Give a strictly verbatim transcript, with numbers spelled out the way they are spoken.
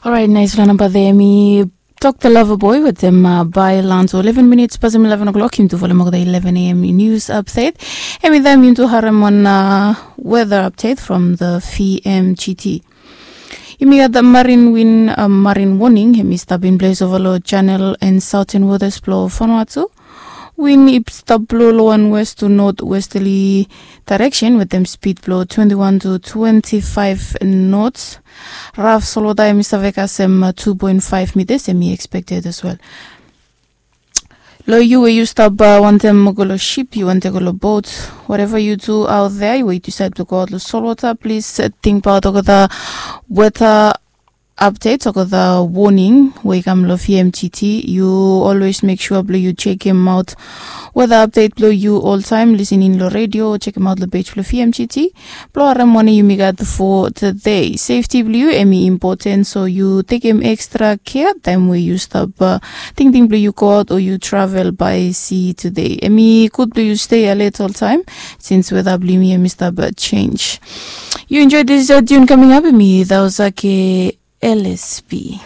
Orait, naisfala namba de mi tok the lover boy wetem bai lanso eleven minits pasim eleven o'clock. Yumi tu folem olgeta eleven a.m. news update. Em i taim yumi tu harem wan weather update from the vmgt. Yumi gat marin win, marin warning em i stap in ples ova long channel and southern waters blong Vanuatu. Win i stap blo long wan west to north westerly direction wetem speed blo twenty-one to twenty-five knots. Raf solota em i save kasem two point five meters em i expected as well. Long yu we yu stap wantem go long ship, yu wantem go long bot, whatever you do out there, we decide to go out long solota, please think about olgeta weather updates, olgeta warning we i kam long vmgt. Yu always make sure blong yu chekim out weather update blong yu oltaim, listening long radio, chekim out long page blong vmgt blong harem wanem yumi gat for today. Safety blong yu em i important, so yu tekim extra care taim we yu stap tingting blong yu go out o yu travel by sea today. Em i gud blong yu stay alert oltaim since weather blong yumi em i stap change. Yu enjoy this tune coming up, em i Dausake lsp.